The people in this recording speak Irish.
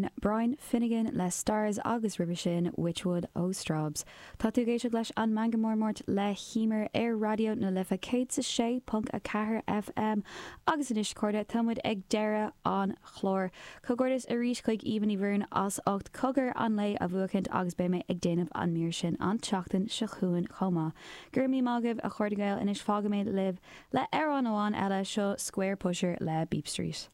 sin Brian Finnegan le Stars agus roimhe sin Witchwood ó Strawbs. Tá tú ag éisteacht leis an Meangadh Mór Máirt le hEmer ar Raidió na Life 106.4 FM agus anois a chairde tá muid ag deireadh an chláir. Comhghairdeas arís chuig Aoibhinn Ní Mhóráin as ucht Cogar an Lae a bhuachaint agus beidh mé ag déanamh an mír sin an tseachtain seo chugainn chomh maith. Go raibh míle maith agaibh a chairde Gael anois fágfaidh mé libh le amhrán amháin eile, seo Square Pusher le Beep Street.